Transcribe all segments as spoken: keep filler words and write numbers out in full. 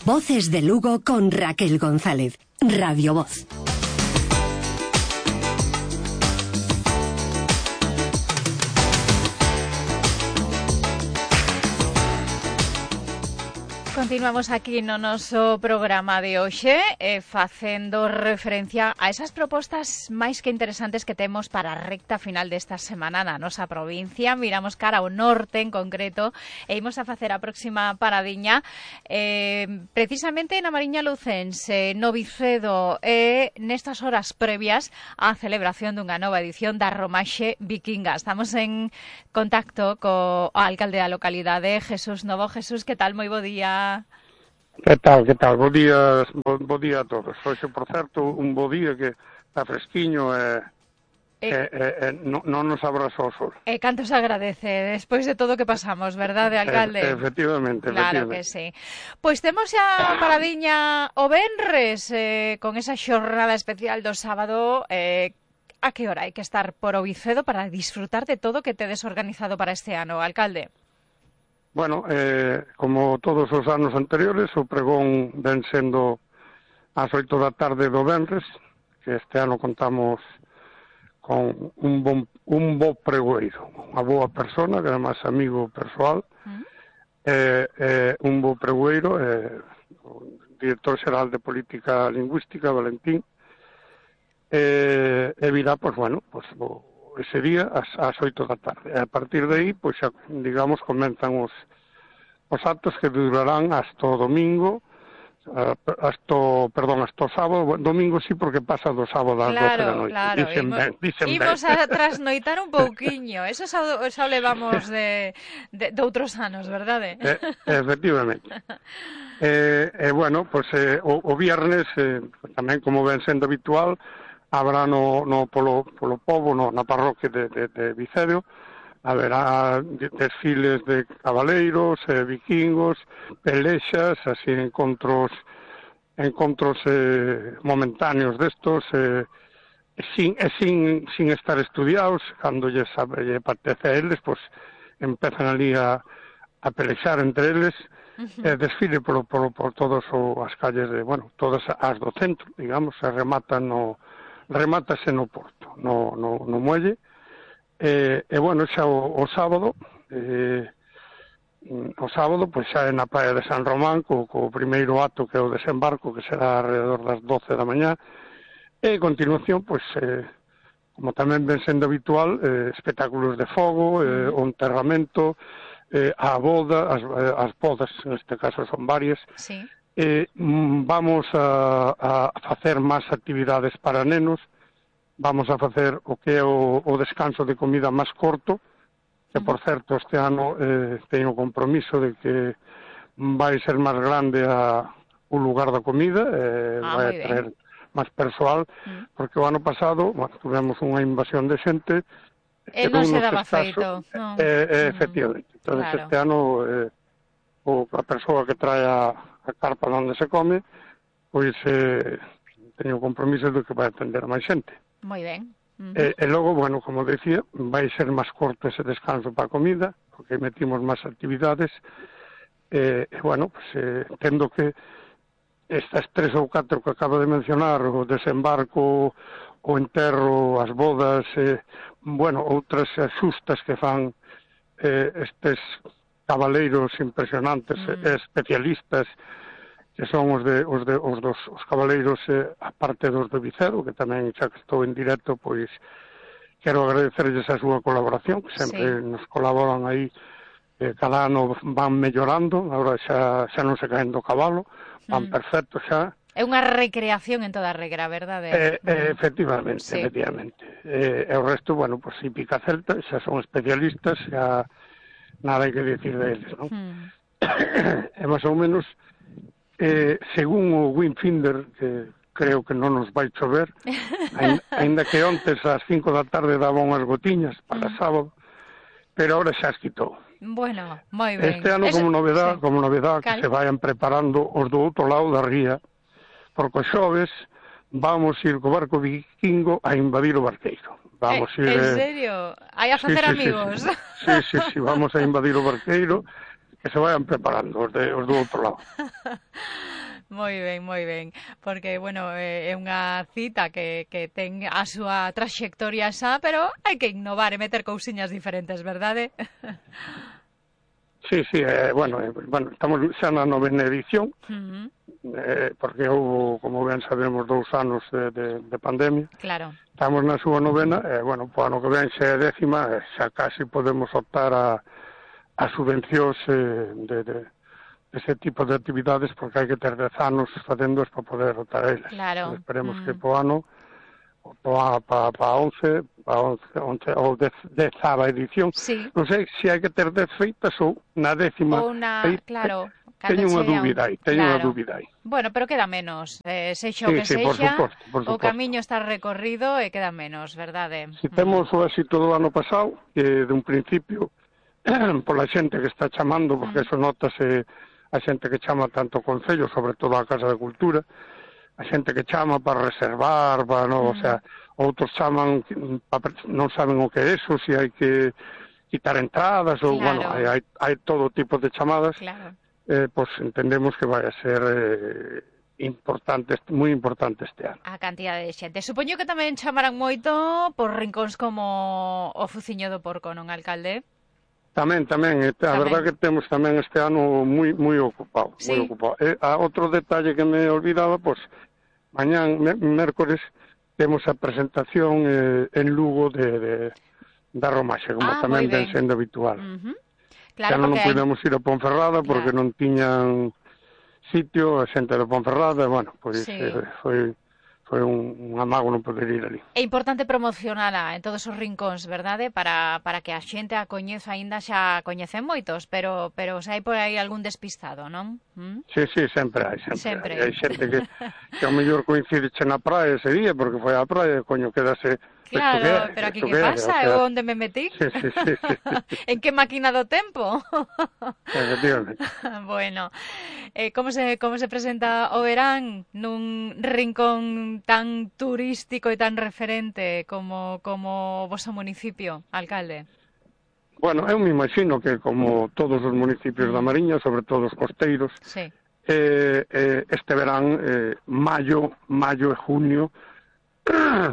Voces de Lugo con Raquel González. Radio Voz. Continuamos aquí no noso programa de hoxe eh, facendo referencia a esas propostas máis que interesantes que temos para a recta final desta semana na nosa provincia. Miramos cara ao norte en concreto e imos a facer a próxima paradiña eh, precisamente na Mariña Lucense, no Vicedo, e nestas horas previas á celebración dunha nova edición da Romaxe Vikinga. Estamos en contacto co alcalde da localidade, Jesús Novo. Jesús, que tal? Moi bo día. Que tal, que tal? Bo día, bo, bo día a todos. Hoxe, por certo, un bo día que está fresquiño e, e, e, e non, non nos abraza o sol. E canto se agradece, despois de todo que pasamos, verdade, alcalde? E, efectivamente, claro efectivamente. Que sí. Pois temos xa paradiña o venres, eh, con esa xornada especial do sábado. Eh, a que hora hai que estar por o Vicedo para disfrutar de todo que tedes organizado para este ano, alcalde? Bueno, eh, como todos os anos anteriores, o pregón ven sendo ás oito da tarde do venres, que este ano contamos con un bon, un bo pregoeiro, unha boa persona, que además amigo persoal, mm. eh, eh, un bo pregoeiro, eh, o director xeral de Política Lingüística, Valentín, eh, e virá, pois, bueno, pois, o, ese día ás, ás oito da tarde. E a partir de aí, pois, xa, digamos, comenzan os, os actos que durarán hasta o domingo, hasta, perdón, hasta o sábado. Domingo sí, porque pasa do sábado ás claro, doce da noite. Claro, dicen imos, ben, dicen imos ben. a trasnoitar un pouquiño. Eso xa, xa levamos de, de, de outros anos, verdade? Eh, efectivamente. E, eh, eh, bueno, pois, eh, o, o viernes, eh, tamén como ven sendo habitual, habrá no, no polo, polo pobo, no, na parroquia de, de, de Vicedo, haberá desfiles de cabaleiros, eh, vikingos, pelexas, así encontros encontros eh, momentáneos destos, eh, sin, e sin, sin estar estudiados, cando lle sabe, lle partece a eles, pois empezan ali a, a pelexar entre eles, uh-huh. e desfile por, por, por todas as calles de, bueno, todas as do centro, digamos, se rematan no remátase no porto, no, no, no muelle, e, e bueno, xa o, o sábado, eh, o sábado, pois xa é na praia de San Román, co, co primeiro acto que é o desembarco, que será alrededor das doce da mañá, e a continuación, pois, eh, como tamén ven sendo habitual, eh, espectáculos de fogo, eh, o enterramento, eh, a boda, as, as bodas, neste caso son varias, sí. Eh, vamos a, a facer máis actividades para nenos, vamos a facer o que é o, o descanso de comida máis corto, que por certo este ano eh, teño compromiso de que vai ser máis grande a, o lugar da comida, eh, ah, vai a traer máis persoal, mm. porque o ano pasado, bueno, tuvemos unha invasión de xente, e non se daba feito. No. Eh, eh, efectivamente, entón claro. Este ano eh, o, a persoa que trae a a carpa onde se come, pois eh, teño compromiso de que vai atender a máis xente. Moi ben. Uh-huh. E, e logo, bueno, como decía, vai ser máis corto ese descanso para a comida, porque metimos máis actividades, e, e bueno, pues, eh, tendo que estas tres ou catro que acabo de mencionar, o desembarco, o enterro, as bodas, eh, bueno, outras xustas que fan eh, estes cabaleiros impresionantes, mm. e especialistas, que son os de os de os dos os cabaleiros eh, a parte dos de Vicedo, que tamén xa que estou en directo, pois quero agradecerlles a súa colaboración, que sempre sí. nos colaboran aí, eh, cada ano van mellorando, agora xa xa non se caen do cabalo, van mm. perfectos xa. É unha recreación en toda regra, verdade? Eh, eh, efectivamente, sí. efectivamente. Eh, e o resto, bueno, pois pues, hípica celta, xa son especialistas, xa nada hai que decir deles, non? Hmm. E máis ou menos, eh, según o Windfinder, que creo que non nos vai chover, ainda que ontes ás cinco da tarde daba unhas gotiñas para hmm. sábado, pero ahora xa as quitou. Bueno, moi ben. Este ano, Eso... como novedad, sí. como novedad Cal... que se vayan preparando os do outro lado da ría, porque os xoves vamos ir co barco vikingo a invadir o barqueiro. Vamos eh, ir... ¿En eh... serio? Hai a facer sí, sí, amigos? Sí sí. sí, sí, sí, vamos a invadir o barqueiro, que se vayan preparando os, de, os do outro lado. Moi ben, moi ben, porque, bueno, é unha cita que, que ten a súa traxectoria xa, pero hai que innovar e meter cousiñas diferentes, verdade? Sí, sí, eh, bueno, eh, bueno, estamos xa na novena edición, Uh-huh. eh, porque houve, como ben sabemos, dous anos de, de, de pandemia. Claro. Estamos na súa novena, e, eh, bueno, po ano que ven xa é décima, eh, xa casi podemos optar a, a subvencións eh, de, de ese tipo de actividades, porque hai que ter dez anos facéndoas para poder optar a elas. Claro. Esperemos Mm. que po ano, para pa, pa once, pa once, once, ou dez, dezava edición, Sí. non sei se hai que ter dez feitas ou na décima. Ou na, Aí, claro, teño unha dúbida aí, teño unha claro. dúbida aí. Bueno, pero queda menos, eh, sexa o Sí, que sí, por sexa, suposto, por o suposto. camiño está recorrido e queda menos, verdade? Si temos o éxito do ano pasado, que de un principio, pola xente que está chamando, porque Mm. eso notase a xente que chama tanto o Concello, sobre todo a Casa de Cultura, a xente que chama para reservar, para no, Mm. o sea, outros chaman, pa- non saben o que é eso, se hai que quitar entradas, ou, Claro. bueno, hai, hai, hai todo tipo de chamadas, Claro. eh, pues entendemos que vai a ser eh, importante, moi importante este ano. A cantidade de xente. Supoño que tamén chamarán moito por rincóns como o Fuciño do Porco, non, alcalde? Tamén, tamén, a Tamén. verdad que temos tamén este ano moi moi ocupado, Sí. moi ocupado. E a outro detalle que me olvidaba, pois mañán, me, mércores, temos a presentación eh, en Lugo de, de da Romaxe, como Ah, tamén moi ben. ven sendo habitual. Uh-huh. Claro, Claro, xa non porque hai... podemos ir a Ponferrada porque Claro. non tiñan sitio, a xente de Ponferrada, bueno, pois Sí. eh, foi foi un, un amago non poder ir ali. É importante promocionala en todos os rincóns, verdade? Para, para que a xente a coñeza, aínda xa coñecen moitos, pero pero se hai por aí algún despistado, non? ¿Mm? Sí, sí, sempre hai, sempre, Sempre. hai. Hai xente que, que ao mellor coincide che na praia ese día, porque foi á praia, coño, quedase... Claro, isto que é, pero aquí isto que que é, pasa? o sea, Eu onde me metí? Sí, sí, sí, sí, sí. En que máquina do tempo? Efectivamente. Bueno, eh, como se como se presenta o verán nun rincón tan turístico e tan referente como como o voso municipio, alcalde? Bueno, eu me imagino que como todos os municipios da Mariña, sobre todo os costeiros, Sí. eh, eh, este verán, eh, maio, maio e junio,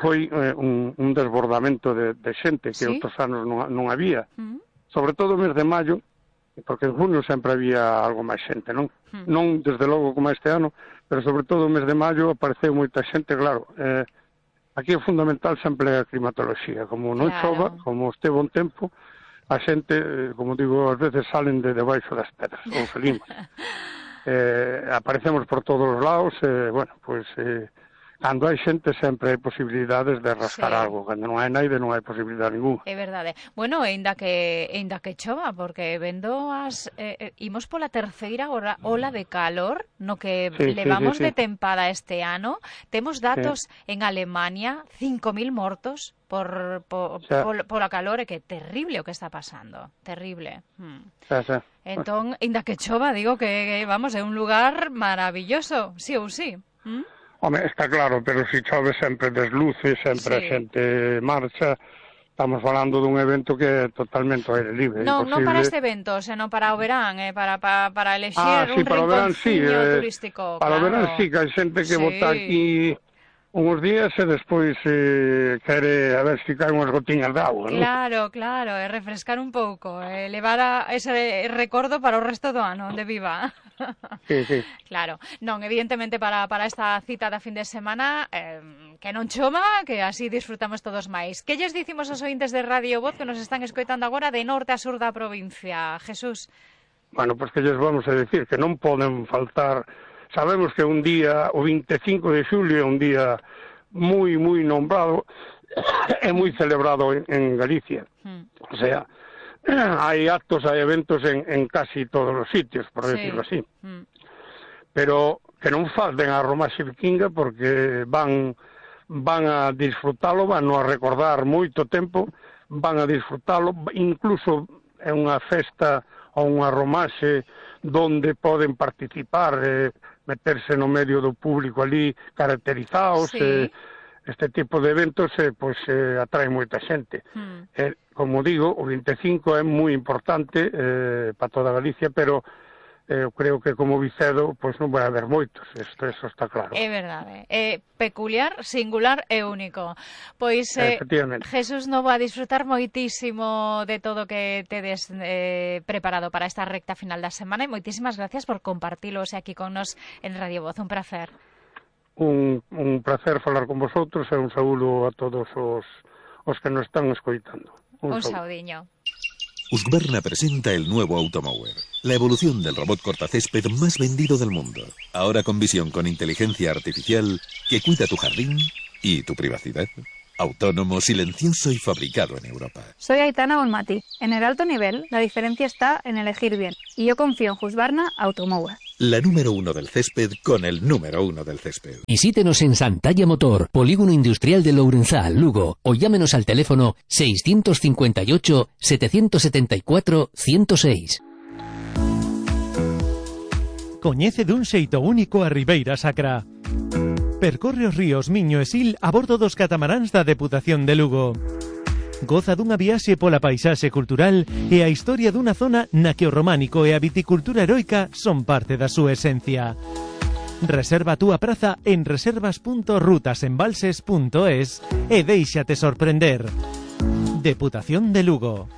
foi eh, un, un desbordamento de, de xente que Sí? outros anos non, non había. Mm. Sobre todo o mes de maio, porque en junio sempre había algo máis xente, non? Mm. Non desde logo como este ano, pero sobre todo o mes de maio apareceu moita xente, claro. Eh, aquí é fundamental sempre a climatoloxía, como non Claro. chova, como este bon tempo, a xente, eh, como digo, ás veces salen de debaixo das pedras, ou salimos. eh, aparecemos por todos os lados, eh, bueno, pois... Eh, cando hai xente sempre hai posibilidades de rascar Sí. algo, cando non hai naide non hai posibilidade ninguna. É verdade. Bueno, ainda que ainda que chova, porque vendo as eh, eh, imos pola terceira ola, ola de calor no que Sí, sí, levamos sí, sí. de tempada este ano. Temos datos en Alemania, cinco mil mortos por, por, O sea, por pola calor, e que terrible o que está pasando, terrible. Hmm. xa, xa. Entón, ainda que chova, digo que, que vamos, é un lugar maravilloso, sí ou sí. ¿Mm? Home, está claro, pero se chove sempre desluce, sempre a Sí. xente marcha. Estamos falando dun evento que é totalmente ao aire libre. Non, non para imposible. este evento, senón para o verán, eh, para, para, para elexir Ah, sí, un para o verán, sí, rinconciño eh, turístico. Para o claro. verán sí, que hai xente que Sí. bota aquí uns días e despois eh, quere a ver se caen unhas gotiñas de agua, non? Claro, claro, e refrescar un pouco, e levar a ese recordo para o resto do ano, onde viva. Sí, sí. Claro, non, evidentemente para, para esta cita da fin de semana eh, que non chova, que así disfrutamos todos máis. Que lles dicimos aos ointes de Radio Voz que nos están escoitando agora de norte a sur da provincia? Jesús. Bueno, pois que lles vamos a decir que non poden faltar. Sabemos que un día, o vinte e cinco de xulio, é un día moi, moi nombrado e moi celebrado en, en Galicia. Hmm. O sea, hai actos, hai eventos en, en casi todos os sitios, por Sí. decirlo así. Hmm. Pero que non falten a Romaxe Vikinga porque van van a disfrutalo, van a recordar moito tempo, van a disfrutalo, incluso é unha festa ou unha Romaxe donde poden participar, eh, meterse no medio do público ali caracterizados, Sí. eh, este tipo de eventos eh, pois, eh, atrae moita xente. Hmm. Eh, como digo, o vinte e cinco é moi importante eh, para toda Galicia, pero eu creo que como Vicedo pois non vai haber moitos, isto eso está claro. É verdade, é peculiar, singular e único. Pois eh, Jesús Novo, a disfrutar moitísimo de todo que tedes eh, preparado para esta recta final da semana e moitísimas gracias por compartilos aquí con nos en Radio Voz, un placer. Un, un placer falar con vosotros e un saúdo a todos os, os que nos están escoitando. Un, un saudiño. Husqvarna presenta el nuevo Automower, la evolución del robot cortacésped más vendido del mundo. Ahora con visión con inteligencia artificial que cuida tu jardín y tu privacidad. Autónomo, silencioso y fabricado en Europa. Soy Aitana Bonmati. En el alto nivel, la diferencia está en elegir bien. Y yo confío en Husqvarna Automower. La número uno del césped con el número uno del césped. Visítenos en Santalla Motor, Polígono Industrial de Lourenzá, Lugo, o llámenos al teléfono seiscientos cincuenta y ocho, setecientos setenta y cuatro, ciento seis. Coñece dun xeito único a Ribeira Sacra. Percorre os ríos Miño e Sil a bordo dos catamaráns da Deputación de Lugo. Goza dunha viaxe pola paisaxe cultural e a historia dunha zona na que o románico e a viticultura heroica son parte da súa esencia. Reserva a túa praza en reservas punto rutasembalses punto es e déixate sorprender. Deputación de Lugo.